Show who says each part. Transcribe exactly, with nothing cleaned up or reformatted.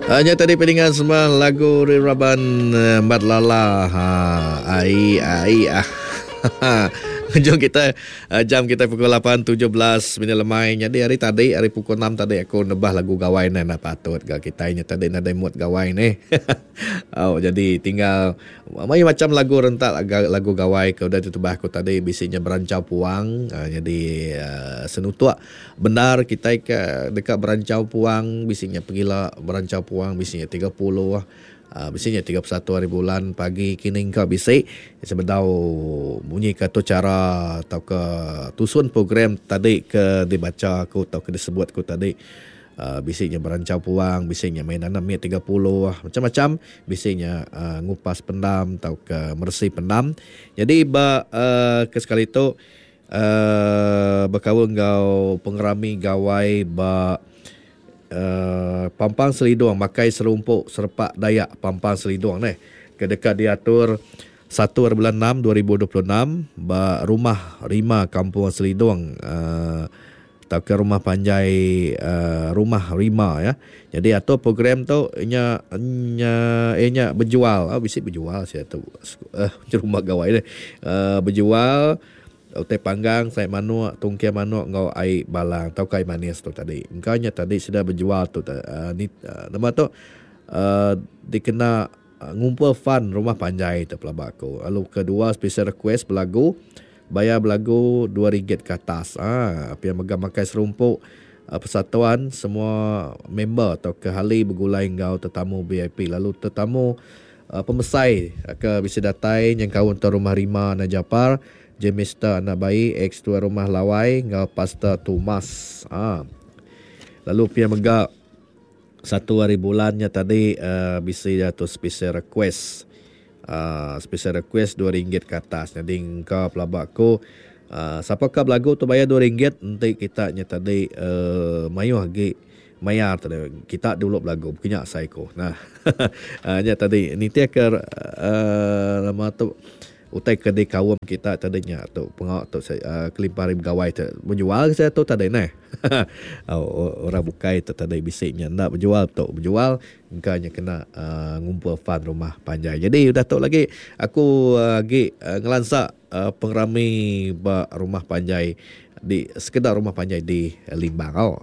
Speaker 1: Nya tadi peningan semua lagu Raban Mat Lala. Ha, ai ai ah. Jom kita jam kita pukul lapan tujuh belas minit lemai. Jadi hari tadi hari pukul enam tadi aku nebah lagu gawai ni nak patut ga kita nya tadi nadai mood gawai ni. Oh, jadi tinggal mai macam lagu rentak lagu gawai ke udah ditebah aku tadi bisinya berancau puang. Uh, jadi uh, senutuk benar kita ke dekat berancau puang bisinya pegila berancau puang bisinya tiga puluh. Uh, bisinya tiga puluh satu hari bulan pagi kini engkau bisi sebedau bunyi ke tu cara atau ke tusun program tadi ke dibaca aku atau ke disebut aku tadi. Uh, bisinya berancau puang, bisinya main anak miat tiga puluh, macam-macam, bisinya uh, ngupas pendam atau ke meresi pendam. Jadi ba uh, ke sekali tu uh, berkawan ngau pengerami gawai ba Uh, Pampang Selidung makai serumpuk serepak Dayak Pampang Selidung ni ke dekat diatur satu bulan enam dua ribu dua puluh enam ba rumah Rima Kampung Selidung uh, atau ke rumah panjai uh, rumah Rima ya. Jadi atur program tu nya nya nya berjual, oh, bisi berjual sia tu uh, rumah gawai ni uh, berjual utai panggang, sayap manuk, tungkir manuk ngau air balang atau kai manis tu tadi. Engkau nya tadi sudah berjual tu uh, ni uh, nama tu uh, dikena uh, ngumpul fund rumah panjai tu pelaba aku. Lalu kedua special request belagu bayar belagu dua ringgit ke atas. Ah, ha, yang megang makai serumpuk uh, persatuan semua member atau ke ahli bergulai ngau tetamu V I P. Lalu tetamu uh, pemesai ke bisa datai yang kawan tu rumah Rima Najapar, Jemista anak bayi ex tua rumah Lawai ngau Pastor Thomas. Ha. Lalu pia mega satu hari bulannya tadi uh, bisi jatuh special request. Uh, special request dua ringgit ke atas. Jadi engkau pelabak aku uh, siapa ka belagu tu bayar dua ringgit nanti kita nya tadi uh, mayuh lagi mayar tadi kita dulu belagu punya saiko. Nah. uh, nya tadi ni tia ke uh, nama tu utai ke di kaum kita tadinya tu pengak tu uh, kelimpah hari gawai tu menjual saya tu tadi neh. Oh, orang bukai tu tadi bisiknya nak berjual tu berjual engkaunya kena uh, ngumpul fund rumah panjai. Jadi udah tu lagi aku uh, lagi uh, ngelansa uh, pengerami ba rumah panjai di sekedar rumah panjai di Limbang. Oh.